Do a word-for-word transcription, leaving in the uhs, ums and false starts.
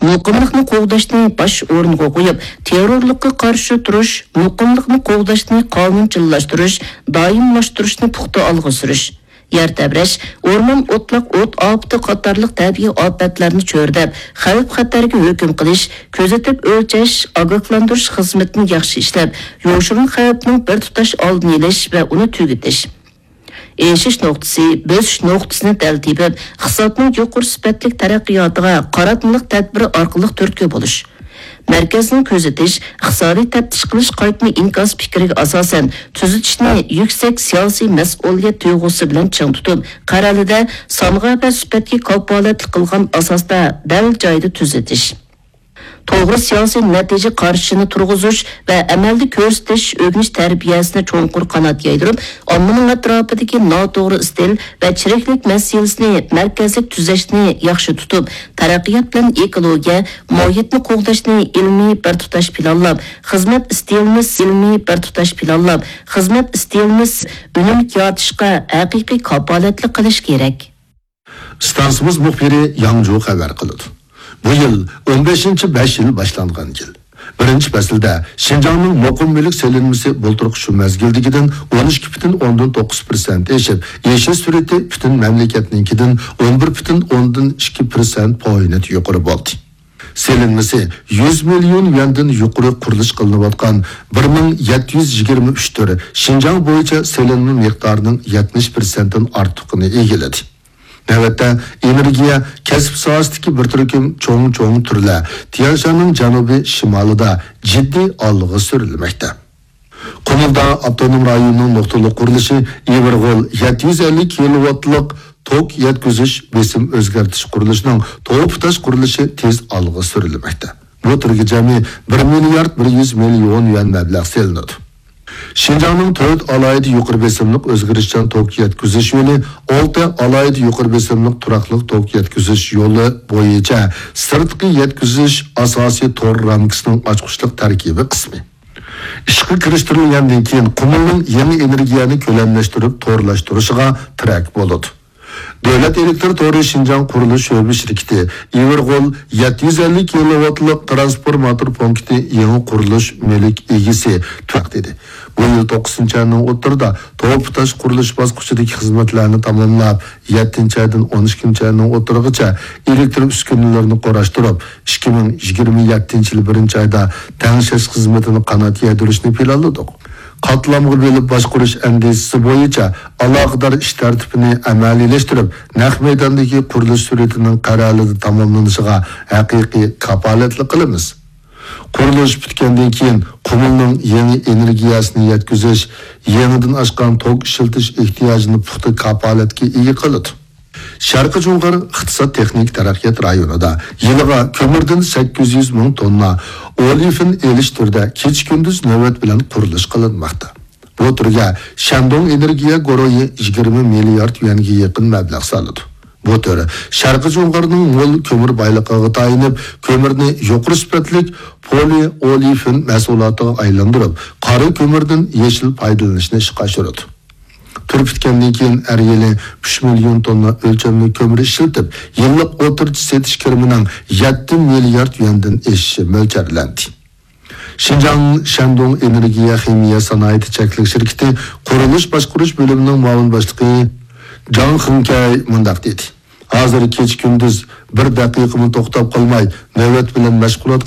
مۇقىملىقنى قوغداشنى باش ئورۇنغا قويۇپ، تېررورلۇققا قارشى تۇرۇش، مۇقىملىقنى قوغداشنى قانۇنچىللاشتۇرۇش، دائىملاشتۇرۇشنى پۇختا ئالغا سۈرۈش. يەر تەۋرەش، ئورمان ئوتلاق ئوت ئاپىتى قاتارلىق تەبىئىي ئاپەتلەرنى چۆرىدەپ، خەۋپ-خەتەرگە ھۆكۈم قىلىش، كۆزىتىپ ئۆلچەش، ئاگاھلاندۇرۇش خىزمىتىنى ياخشى ئىشلەپ، يوشۇرۇن خەۋپنىڭ بىر تۇتاش ئالدىنى ئېلىش ۋە ئۇنى تۈگىتىش. ئېشىش نۇقتىسى، بۆسۈش نۇقتىسىنى دەل تېپىپ، ئىقتىسادنىڭ يۇقىرى سۈپەتلىك تەرەققىياتىغا قاراتمىلىق تەدبىرى ئارقىلىق تۈرتكە بولۇش. مەركەزنىڭ كۆزىتىش، ئىقتىسادىي تەپتىش قىلىش قايتما ئىنكاس پىكرىگە ئاساسەن، تۈزىتىشنى يۈكسەك سىياسىي مەسئۇلىيەت تۇيغۇسى بىلەن چىڭ تۇتۇپ، قەرەلىدە سانغا ۋە سۈپەتكە كاپالەتلىك قىلغان ئاساستا دەل جايىدا تۈزىتىش. توغرا سىياسىي نەتىجە قارىشىنى تۇرغۇزۇش ۋە ئەمەلدە كۆرسىتىش، ئۆگىنىش تەربىيەسىنى چوڭقۇر قانات يايدۇرۇپ، ئاممىنىڭ ئەتراپىدىكى ناتوغرا ئىستىل ۋە چىرىكلىك مەسىلىسىنى مەركەزلىك تۈزەشنى ياخشى تۇتۇپ، تەرەققىيات بىلەن ئېكولوگىيە، ماھىيەتنى قوغداشنى ئىلمىي بىر تۇتاش پىلانلاپ، خىزمەت ئىستىلىمىز ئىلمىي بىر تۇتاش پىلانلاپ، خىزمەت ئىستىلىمىز ئۈنۈملۈك يارىتىشقا ھەقىقىي كاپالەتلىك قىلىش كېرەك. ئىستانسىمىز مۇخبىرى ياڭجۇ خەۋەر قىلىدۇ. بۇ يىل ئون بەشىنچى بەش يىل باشلانغان يىل. بىرىنچى پەسىلدە شىنجاڭنىڭ مۇقىم مۈلۈك سېلىنمىسى بۇلتۇرقى شۇ مەزگىلدىكىدىن ئون ئىككى پۈتۈن ئوندىن توققۇز پىرسەنت ئېشىپ، ئېشىش سۈرئىتى پۈتۈن مەملىكەتنىڭكىدىن ئون بىر پۈتۈن ئوندىن ئىككى پىرسەنت پوينت يۇقىرى بولدى. سېلىنمىسى يۈز مىليون يۈەندىن يۇقىرى قۇرۇلۇش قىلىنىۋاتقان بىر مىڭ يەتتە يۈز يىگىرمە ئۈچ تۈر شىنجاڭ بويىچە سېلىنما مىقدارىنىڭ يەتمىش پىرسەنتتىن ئارتۇقىنى ئىگىلىدى. نۆۋەتتە ئېنېرگىيە، كەسىپ ساھەسىدىكى بىر تۈركۈم چوڭ-چوڭ تۈرلەر تيەنشاننىڭ جەنۇبىي شىمالىدا جىددىي ئالغا سۈرۈلمەكتە. قۇمۇلدا ئاپتونوم رايوننىڭ نۇقتىلىق قۇرۇلۇشى ئېۋىرغول يەتتە يۈز ئەللىك كىلوۋاتلىق توك يەتكۈزۈش بېسىم ئۆزگەرتىش قۇرۇلۇشىنىڭ توپا تاش قۇرۇلۇشى تېز ئالغا سۈرۈلمەكتە. بۇ تۈرگە جەمئىي بىر مىليارد بىر يۈز مىليون يۈەن مەبلەغ سېلىنىدۇ. شىنجاڭنىڭ تۆت ئالاھىدە يۇقىرى بېسىملىق ئۆزگىرىشچان توك يەتكۈزۈش يولى، ئالتە ئالاھىدە يۇقىرى بېسىملىق تۇراقلىق توك يەتكۈزۈش يولى بويىچە سىرتقى يەتكۈزۈش ئاساسىي تور رامكىسىنىڭ ئاچقۇچلۇق تەركىبىي قىسمى. ئىشقا كىرىشتۈرۈلگەندىن كېيىن، قۇمۇلنىڭ يېڭى ئېنېرگىيەنى كۆلەملەشتۈرۈپ تورلاشتۇرۇشىغا تىرەك بولىدۇ. دۆلەت ئېلېكتر تورى شىنجاڭ قۇرۇلۇش شۆبە شىركىتى ئېۋىرغول يەتتە يۈز ئەللىك كىلوۋاتلىق ترانسفورماتور پونكىتى يېڭى قۇرۇلۇش مۈلۈك ئىگىسى تۈرەك دېدى. بۇ يىل توققۇزىنچى ئاينىڭ ئوتتۇرىدا توپا تاش قۇرۇلۇش باسقۇچىدىكى خىزمەتلەرنى تاماملاپ، يەتتىنچى ئايدىن ئون ئىككىنچى ئاينىڭ ئوتتۇرىغىچە ئېلېكتر ئۈسكۈنىلىرىنى قۇراشتۇرۇپ، ئىككى مىڭ يىگىرمە يەتتىنچى يىل بىرىنچى ئايدا تەڭشەش خىزمىتىنى قانات يايدۇرۇشنى پىلانلىدۇق. قاتلامغا بۆلۈپ باشقۇرۇش ئەندىزىسى بويىچە ئالاقىدار ئىش تەرتىپىنى ئەمەلىيلەشتۈرۈپ، نەق مەيداندىكى قۇرۇلۇش سۈرئىتىنىڭ قەرەلىدە تاماملىنىشىغا ھەقىقىي كاپالەتلىك قىلىمىز. قۇرۇلۇش پۈتكەندىن كېيىن، قۇمۇلنىڭ يېڭى ئېنېرگىيەسىنى يەتكۈزۈش، يېڭىدىن ئاشقان توك ئىشلىتىش ئېھتىياجىنى پۇختا كاپالەتكە ئىگە قىلىدۇ. شەرقىي جۇڭغار ئىقتىساد تېخنىكا تەرەققىيات رايونىدا يىلىغا كۆمۈردىن سەككىز يۈز مىڭ توننا ئولېفىن ئېلىش تۈرىدە كېچە-كۈندۈز نۆۋەت بىلەن قۇرۇلۇش قىلىنماقتا. بۇ تۈرگە شەندۇڭ ئېنېرگىيە گۇرۇھى يىگىرمە مىليارد يۈەنگە يېقىن مەبلەغ سالىدۇ. بۇ تۈر شەرقىي جۇڭغارنىڭ مول كۆمۈر بايلىقىغا تايىنىپ، كۆمۈرنى يۇقىرى سۈپەتلىك پولىئولېفىن مەھسۇلاتىغا ئايلاندۇرۇپ، قارا كۆمۈردىن يېشىل پايدىلىنىشنى ئىشقا ئاشۇرىدۇ. تۈر پۈتكەندىن كېيىن، ھەر يىلى ئۈچ مىليون توننا ئۆلچەملىك كۆمۈر ئىشلىتىپ، يىللىق ئوتتۇرىچە سېتىش كىرىمىنىڭ يەتتە مىليارد يۈەندىن ئېشىشى مۆلچەرلەندى. شىنجاڭ شەندۇڭ ئېنېرگىيە خىمىيە سانائىتى چەكلىك شىركىتى قۇرۇلۇش باشقۇرۇش بۆلۈمىنىڭ مۇئاۋىن باشلىقى جاڭ خېڭكەي مۇنداق دېدى: ھازىر كېچە-كۈندۈز بىر دەقىقىمۇ توختاپ قالماي، نۆۋەت بىلەن مەشغۇلات